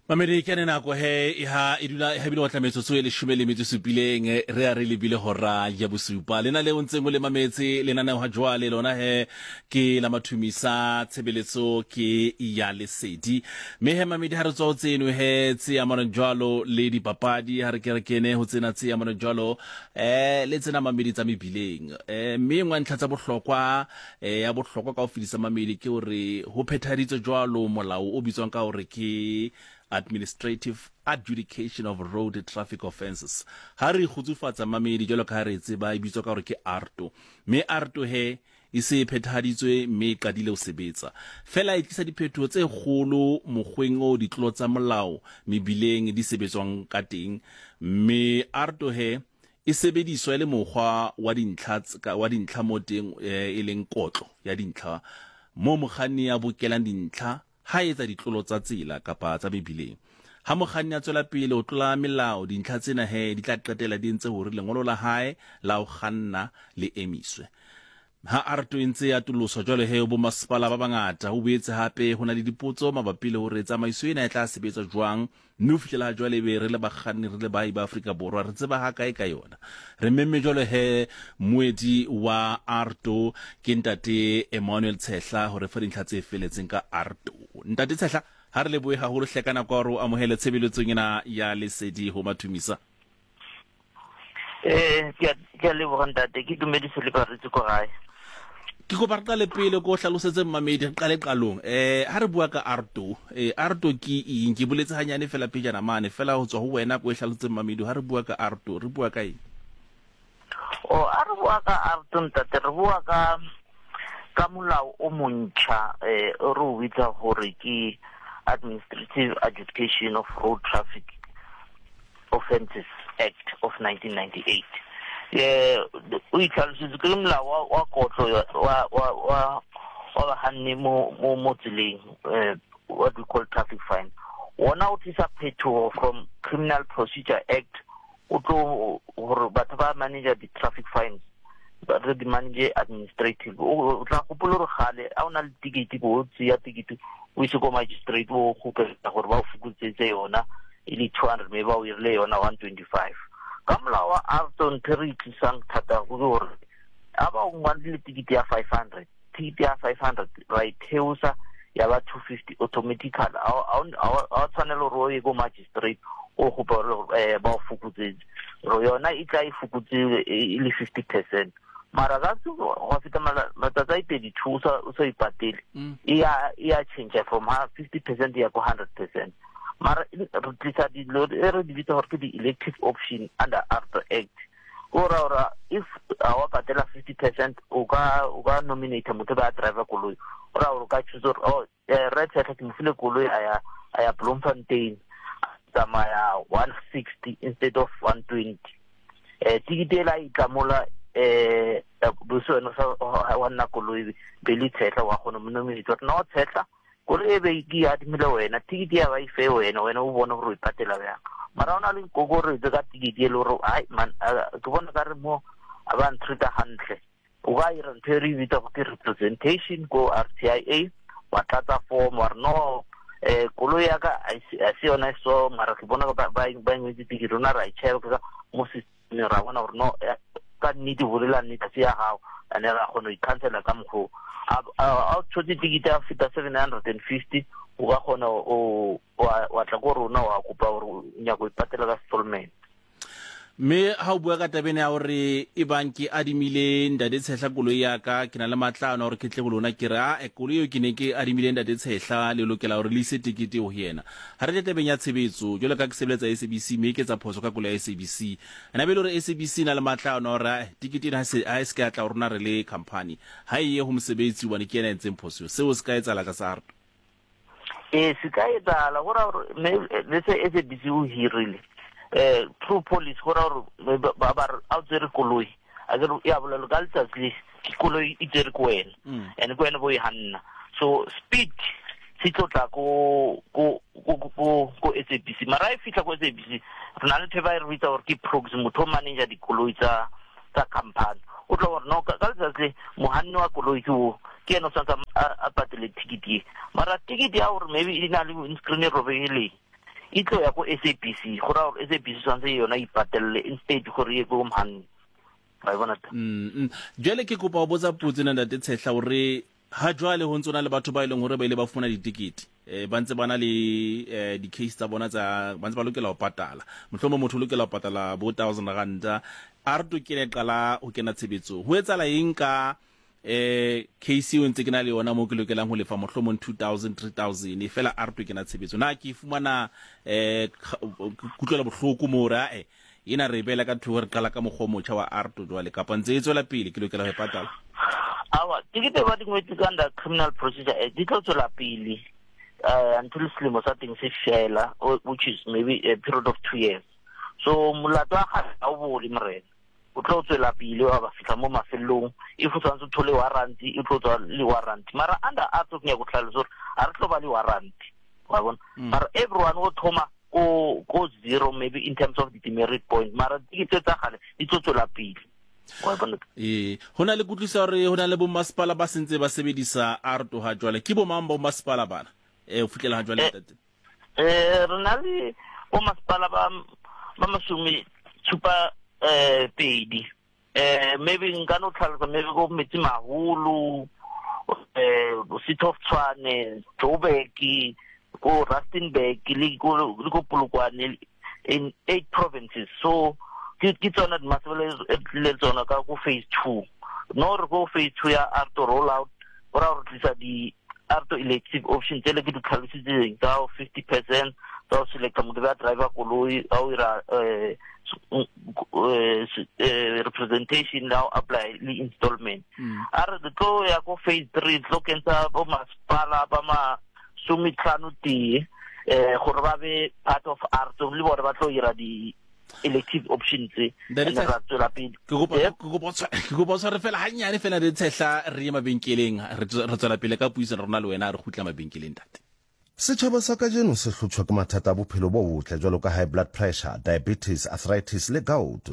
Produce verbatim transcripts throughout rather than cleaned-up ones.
Mamedi, ke ane nako he e ha e dula e habile go tla metsotso e leshome le metso e supileng, re a re lebile hora ya bosupa. Lena leo ntseng o le mametse lenaneo ha jwale lona he ke la mathumisa tshebeletso ke ya lesedi. Mme he mamedi, ha re tswa ho tseno he tse amanang jwalo le dipapadi, ha re ke re kene ho tsena tse amanang jwalo eh le tsena mamedi tsa mebileng. Eh mme e nngwe ya ntlha tsa bohlokwa eh ya bohlokwa ka ho fedisa mamedi ke hore ho phethahaditswe jwalo molao o bitswang ka hore ke Administrative Adjudication of Road Traffic Offences. Ha re kgutsufatsa mamedi jwalo ka ha re tseba e bitswa ka hore ke A R T O. Mme A R T O he e se e phethahaditswe mme e qadile ho sebetsa. Fela e tlisa diphetoho tse kgolo mokgweng o ditlolo tsa molao mebileng di sebetswang ka teng. Mme A R T O he e sebediswa e le mokgwa wa dintlha wa dintlha mo teng e leng kotlo ya dintlha mo mokganni a bokelang dintlha ha etsa ditlolo tsa tsela kapa tsa mebileng. Ha mokganni a tswela pele ho tlola melao, dintlha tsena he di tla qetella di entse hore lengolo la hae la ho kganna le emiswe. Ha A R T O e ntse e atoloswa jwalo he bo masepala ba bangata, ho boetse hape ho na le dipotso mabapi le hore tsamaiso ena e tla sebetsa jwang, mme ho fihlela ha jwale ebe re le bakganni, re le baahi ba Afrika Borwa, re tseba hakae ka yona. Re memme jwalo he moedi wa A R T O ke ntate Emmanuel Tshehla hore fa dintlha tse felletseng ka A R T O. Ntate Tshehla, ha re lebohe haholo hle ka nako ya hore o amohele tshebeletsong ena ya lesedi ho Mathumisa. Eh ke a leboga ntate, ke dumedise le baretsi ko gae. Ke kopa re qale pele ko hlalosetse mmamedi, re qale qalong. Eh ha re bua ka A R T O, eh A R T O ke eng? Ke boletse hanyane fela pejana mane, fela ho tswa ho wena ko e hlalosetse mmamedi, ha re bua ka A R T O re bua ka eng? O a re bua ka A R T O ntate, re bua ka ka molao o montšha eh o re o bitsa gore ke Administrative Adjudication of Road Traffic Offences Act of nineteen ninety-eight. eh o itlhalositse ke molao wa wa kotlo wa wa wa wa bakganni mo mo mo tseleng, eh what we call traffic fine. Wona o tlisa phetoho from Criminal Procedure Act, o tlo gore batho ba manage di-traffic fines ba re di manage administrative. O tla gopola gore gale a o na le ticket, bo o tseya ticket o ise ko magistrate, o kgopela gore ba o fokotsetse yona e le two hundred, mme ba o irile yona one twenty-five. Ka molao wa A R T O, ntho e re e tlisang thata ke gore a ba o ngwadile ticket ya five hundred, ticket ya five hundred ra e theosa ya ba two fifty automatically. A o tshwanela gore o ye ko magistrate o kopa gore ba o fokotsetse yona, e tla e fokotse e le fifty percent. Mara ka go feta matsatsi a thirty-two o sa ipatele, e ya e ya change from fifty percent ya ko hundred percent. Mara re tlisa dilo e re di bitsa gore ke di-elective option under A R T O Act. Go ra gore if a wa patela fifty percent, o ka o ka nominate motho ba driver koloi. O ra gore o ka choose gore, oh, re Tshehla ke mo file koloi, a ya a ya Bloemfontein, tsamaya one sixty instead of one twenty. eh ticket e la itlamola eh bose wena sa wa nna koloi be le Tshehla, wa kgona mo nominate gore no Tshehla, koloi e be ke adimile wena, ticket ya ba ife wena, wena o bone gore o ipatela bjang. Mara o na le kokoretso ka ticket e le gore ai man, ke bona ka re mo a ba ntreata hantle, o ka ira ntho e re e bitsa go ke representation ko R T I A, wa tlatsa form wa re no, eh koloi ya ka a se yona so, mara ke bona ba ba ngwetse ticket, rona ra e check ka mo system, ra bona gore no, ka nnete bolela nnete se ya gago, ane ra kgona ho i-cancela ka mokgwa a o tshotse ticket ya feta seven hundred and fifty, o ka kgona o wa tla ko rona wa kopa gore o nyaka ho ipatela ka installment. Mme ha o bua ka tabeng ya hore e bang ke adimile ntate Tshehla koloi ya ka, ke na le matla ana hore ke tle ho lona ke re a koloi eo ke ne ke adimile ntate Tshehla, le lokela hore le ise tekete ho yena. Ha re tle tabeng ya tshebetso, jwalo ka ke sebeletsa S A B C mme ke etsa phoso ka koloi ya S A B C, ena be le hore S A B C na le matla ana hore tekete ena ha e se ka tla ho rona re le company, ha e ye ho mosebetsi hobane ke yena a entseng phoso eo? Seo se ka etsahala tlasa A R T O? Ee, se ka etsahala. Go raya gore le se S A B C o hirile eh through police, go raya gore ba ba re a o tsere koloi, a ke ya bolelo ka letsatsi le koloi e tsere ko wena and ko wena bo e hanna, so speed se tlo tla ko ko ko ko ko S A B C. Mara e fihla ko S A B C, re na le ntho e ba e re bitsa gore ke proxy, motho o manager dikoloi tsa tsa company, o tlo gore no, ka letsatsi le mohanni wa koloi ke o, ke ena o tshwanetse a patele ticket e. Mara ticket ya gore maybe e na le windscreen e robegileng, E tlo ya ko S A B C, go raya gore S A B C tshwanetse yona e ipatelle instead gore e ko mhanni. Wa e bona ta? Mm. Jwale ke kopa ho botsa potso ena ntate Tshehla hore ha jwale ho ntse na le batho ba e leng hore ba ile ba fumana ditikete, eh ba ntse ba na le eh di-case tsa bona tsa ba ntse ba lokela ho patala, mohlomong motho o lokela ho patala bo thousand ranta, a re to kene qala ho kena tshebetsong, ho etsahala eng ka eh case eo ntse ke na le yona mo ke lokelang ho lefa mohlomong two thousand three thousand e fela a re to kena tshebetso, na ke fumana eh kutlwela bohloko mo hore ae ena re bela ka thoko re qala ka mokgwa o motjha wa A R T O jwale, kapa ntse e tswela pele ke lokela ho e patala? Awa, tikete ba di ngwetse ka under Criminal Procedure Act di tlo tswela pele uh, until selemo sa teng se fela, which is maybe a period of two years. So molato wa kgale ha o bole morena, o tlo tswela pele wa ba fihla mo mafelong. If o tshwanetse o thole warrant, e tlo tswa le warrant. Mara under A R T O ke nyaka go tlhalosa gore ha re tlo ba le warrant, wa bona. Mara everyone o thoma ko ko zero maybe in terms of the demerit point, mara tikete tsa kgale di tlo tswela pele. Eh, ho na le kutlwisa hore ho na le bo masepala ba sentse ba sebedisa A R T O ha jwale, ke bo mang bo masepala bana eh ho fihlela ha jwale ntate? Eh re na le bo masepala ba ba mashome tshupa eh pedi, eh maybe nka no tlhalosa maybe go Metsi Maholo, eh City of Tshwane, Joburg, ko Rustenburg le ko le ko Polokwane, in eight provinces. So ke ke tsona di masepala e tlile tsona ka go phase two. No re go phase two ya A R T O rollout, go ra re tlisa di A R T O elective option tsele ke di tlhalositseng tsa fifty percent tsa ho select motho ba driver koloi, ha o ira eh representation now apply le installment. A re tlo ya ko phase three tlo kentsha bo masepala ba ma some tlhano tee eh gore ba be part of A R T O le bone ba tlo ira di elective options tse ra tswela pele. Ke kopa ke kopa ke kopa tshware fela hanyane fela re Tshehla re ye mabenkeleng, re tswela pele ka puisano rona le wena, re kgutla mabenkeleng ntate. Setjhaba sa kajeno se hlotshwa ke mathata a bophelo bo botle jwalo ka high blood pressure, diabetes, arthritis le gout.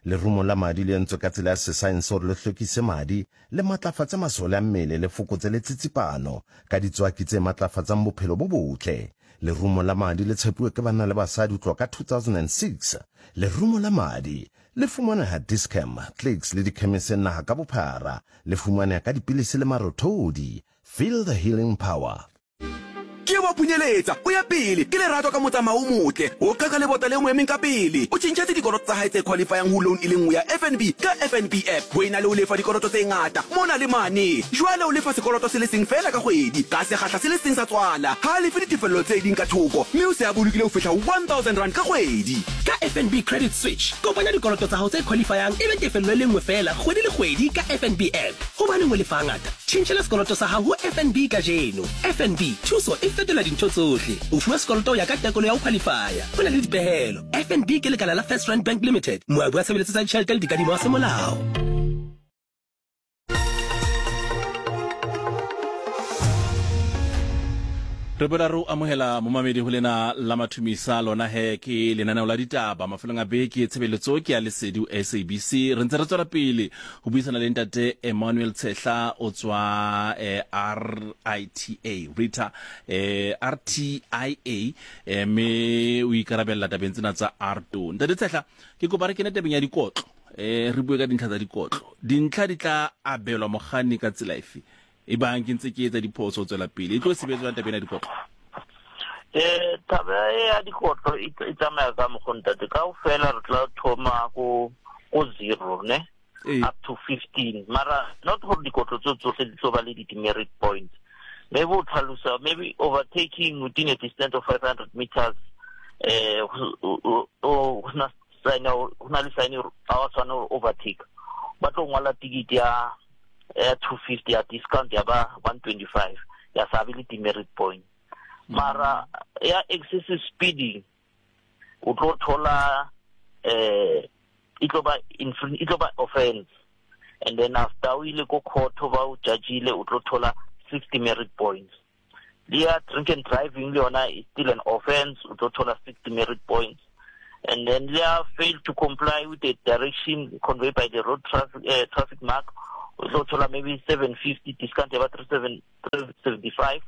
Lerumo la madi le entswe ka tsela ya sesaense hore le hlwekise madi, le matlafatse masole a mmele, le fokotse le tsitsipano ka ditswaki tse matlafatsang bophelo bo botle. Lerumo la madi le tshepuwe ke banna le basadi ho tloha ka two thousand six. Lerumo la madi le fumaneha Dis-Chem, Clicks le dikhemiseng naha ka bophara. Le fumaneha ka dipilisi le marothodi. Feel the healing power. Ke wa phunyeletsa o ya pele ke lerato ka motsamao o motle, o qaka lebota le mo emeng ka pele, o tjhentjhetse dikoloto tsa hae tse qualifyang ho loan e le nngwe ya F N B ka F N B app. Ho ena le ho lefa dikoloto tse ngata mona le mane, jwale o lefa sekoloto se le seng fela ka kgwedi ka sekgahla se le seng sa tswala, ha lefe ditefello tse ding ka thoko, mme o se a bolokile ho fihla one thousand rand ka kgwedi. Ka F N B Credit Switch kopanya dikoloto tsa hao tse qualifyang e be tefello e le nngwe fela kgwedi le kgwedi ka F N B app. Hobaneng o lefa ngata? Tjhentjhela sekoloto sa hao ho F N B kajeno. F N B thuso e fetola dintho tsohle. O fuwa sekoloto ya ka tekolo ya ho qualifya. Ho na le dipehelo. F N B ke lekala la First Rand Bank Limited, moabi wa tshebeletso tsa ditjhelete le dikadimo wa semolao. Re boela re o amohela momamedi ho lena la mathumisa lona he ke lenaneo la ditaba mafelong a beke, tshebeletso ke ya Lesedi S A B C. Re ntse re tswela pele ho buisana le ntate Emmanuel Tshehla o tswa eh, R I T A Rita eh, R T I A eh, me o ikarabella tabeng tsena tsa A R T O. Ntate Tshehla, ke kopa re kene tabeng ya dikotlo, eh re bue ka dintlha tsa dikotlo. Dintlha di tla abelwa mokganni ka tsela efe? E bang ke ntse ke etsa diphoso tswela pele, e tlo sebetswa tabeng ya dikotlo? Eh taba ya dikotlo e tsamaya ka mokgwa ntate, kaofela re tla thoma go go zero ne up to fifteen, mara not gore dikotlo tso tsohle di tlo ba le di-demerit points. Maybe o tlhalosa maybe overtaking within a distance of five hundred meters, eh o na sign o na le sign ha wa tshwana hore overtake, ba tlo ngwala ticket ya ya two fifty ya discount ya ba one twenty-five ya sabe le demerit point. Mara ya excessive speeding o tlo thola eh e tlo ba e tlo ba offense, and then after o ile ko court ba o judgeile o tlo thola sixty merit points. Le ya drink and driving le yona is still an offense, o tlo thola sixty merit points. And then they are failed to comply with the direction conveyed by the road traffic uh, traffic mark, o tlo thola maybe seven fifty discount ya ba three seventy-five.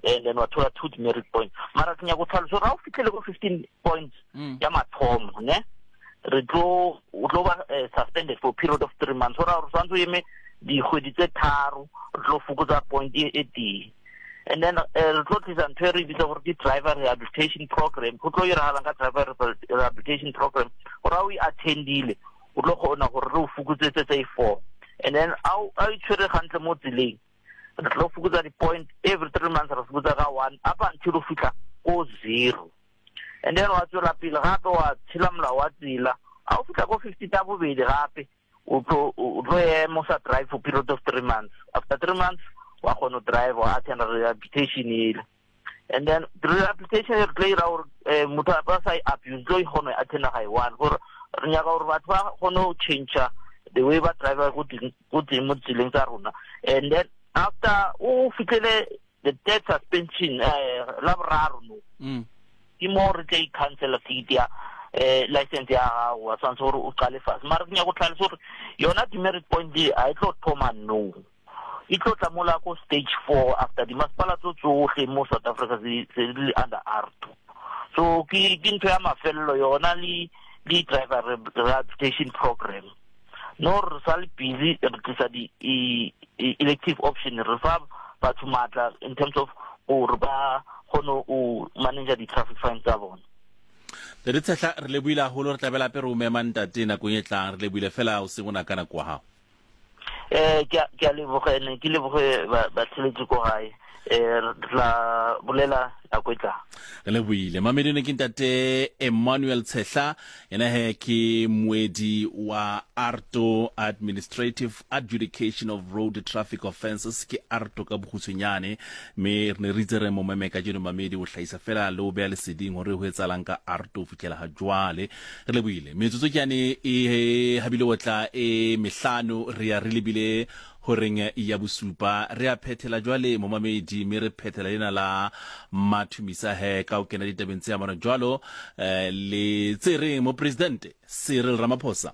And then wa thola two demerit points. Mara ke nyaka go tlhalosa gore ga o fitlhele ko fifteen points ya mathomo, ne, re tlo o tlo ba suspended for period of three months. Go raya gore tshwanetse o eme dikgwedi tse tharo, re tlo fokotsa point e tee. And then re tlo tlisa ntho e re bitsa gore ke driver rehabilitation program. Go tlo iragalang ka driver rehabilitation program, gore ga o e attendile, o tlo kgona gore re o fokotsetse tse four. And then a o itshwere gantle mo tseleng, re tlo fokotsa di-point every three months, re fokotsa ka one up until o fitlha ko zero. And then wa tswela pele gape wa tshela molao wa tsela, a o fitlha ko fifty tsa bobedi gape, o tlo ema o sa drive for period of three months. After three months wa kgona go drive, wa attend rehabilitation ele. And then rehabilitation re tlo ira gore motho a sa e abuse, tlo e kgona e attenda ga e one, gore re nyaka gore batho ba kgone go change the way ba drive go teng mo tseleng tsa rona. And then after o fitlhele the third suspension, la boraro no, ke mo re tla i-cancela ticket ya license ya gago, wa tshwanetse gore o qale fase. Mara ke nyaka go tlhalosa gore yona demerit point e ga e tlo thoma no, e tlo tla mola ko stage four after dimasepala tso tsohle mo South Africa se di le under R two. So ke ntho ya mafelelo yona le le driver rehabilitation program. No, re sa le busy re tlisa di-elective option, re fa batho matla in terms of gore ba kgone go manage di-traffic fines tsa bona. Ntate Tshehla, re lebohile haholo, re tla be hape re o mema ntate nakong e tlang. Re lebohile fela o seng o na ka nako wa hao. Eh ke a leboga, ene ke leboge batsheletsi ko gae, eh re tla bolela nako e tlang. Re lebohile mamedone. Ke ntate Emmanuel Tshehla, yena he ke moedi wa AARTO, Administrative Adjudication of Road Traffic Offences, ke AARTO ka bokgutshwanyane. Mme re ne re itse re mo meme kajeno mamedi o hlahisa fela le o beha leseding hore ho etsahalang ka AARTO ho fihlela ha jwale. Re lebohile. Metsotso ke yane e habile o tla e mehlano, re ya re lebile horeng ya bosupa. Re a phethela jwale momamedi, mme re phethela lena la Mathumisa he ka o kena ditabeng tse amana jwalo le tse reng mopresidente Cyril Ramaphosa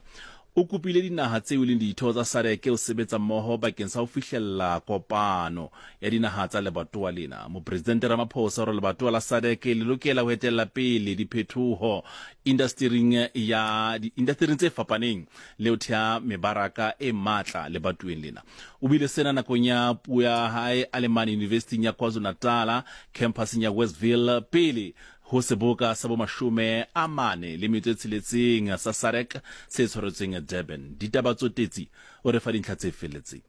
o kopile dinaha tseo e leng ditho tsa SADC ho sebetsa mmoho bakeng sa ho fihlella kopano ya dinaha tsa lebatowa lena. Mopresidente Ramaphosa o re lebatowa la SADC le lokela ho etella pele diphetoho indastering ya diindastering tse fapaneng le ho thea mebaraka e matla lebatoweng lena. O bile sena nakong ya puo ya hae a le mane University ya KwaZulu-Natal campuseng ya Westville pele ho seboka sa bomashome a mane le metso e tsheletseng sa SADC se tshwaretsweng Durban. Ditaba tsotetsi o re fa dintlha tse felletseng.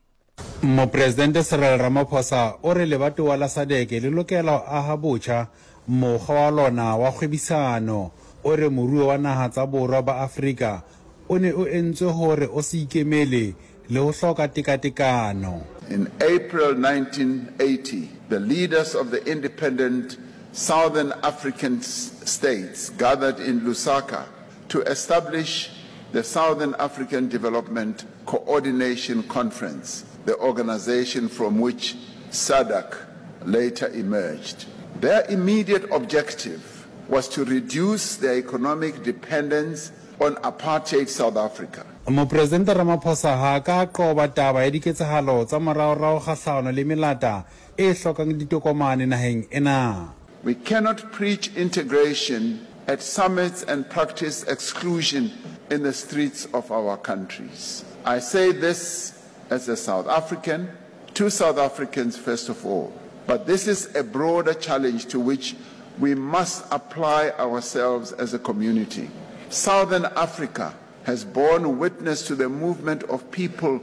Mopresidente Cyril Ramaphosa o re lebatowa la SADC le lokela ho aha botjha mokgwa wa lona wa kgwebisano. O re moruo wa naha tsa borwa ba Afrika o ne o entswe hore o se ikemele le ho hloka tekatekano. In April nineteen eighty, the leaders of the independent Southern African states gathered in Lusaka to establish the Southern African Development Coordination Conference, the organization from which SADC later emerged. Their immediate objective was to reduce their economic dependence on apartheid South Africa. Mopresidente Ramaphosa ha ka qoba taba ya diketsahalo tsa moraorao kgahlano le melata e hlokang ditokomane naheng ena. We cannot preach integration at summits and practice exclusion in the streets of our countries. I say this as a South African, to South Africans first of all, but this is a broader challenge to which we must apply ourselves as a community. Southern Africa has borne witness to the movement of people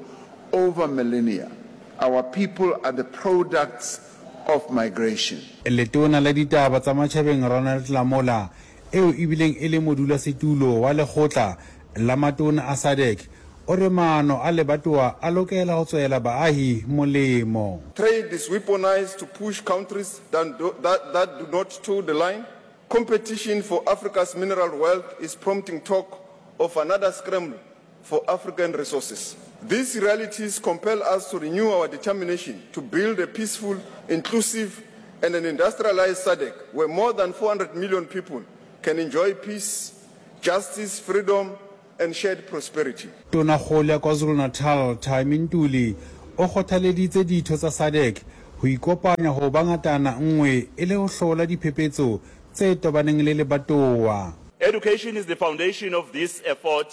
over millennia. Our people are the products of migration. Letona la ditaba tsa matjhabeng Ronald Lamola, eo ebileng e le modulasetulo wa lekgotla la matona a SADC, o re maano a lebatowa a lokela ho tswela baahi molemo. Trade is weaponized to push countries that do, that, that do not toe the line. Competition for Africa's mineral wealth is prompting talk of another scramble for African resources. These realities compel us to renew our determination to build a peaceful, inclusive, and an industrialized SADC where more than four hundred million people can enjoy peace, justice, freedom, and shared prosperity. Tonakgolo ya KwaZulu-Natal Thami Ntuli o kgothaleditse ditho tsa SADC ho ho ikopanya ho ba ngatana nngwe e le ho hlola diphephetso tse tobaneng le lebatowa. Education is the foundation of this effort.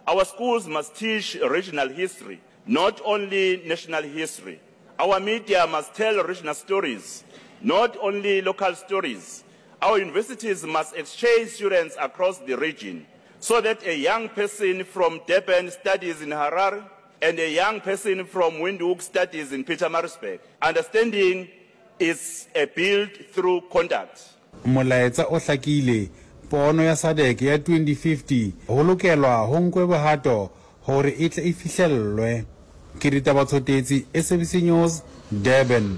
Our schools must teach regional history, not only national history. Our media must tell regional stories, not only local stories. Our universities must exchange students across the region so that a young person from Durban studies in Harare and a young person from Windhoek studies in Pietermaritzburg. Understanding is a built through conduct. Molaetsa o hlakile, pono ya SADC ya twenty fifty ho lokelwa ho nkwe bohato hore e tle e fihlellwe. Ke Ditaba Tshotetsi, S A B C News, Durban.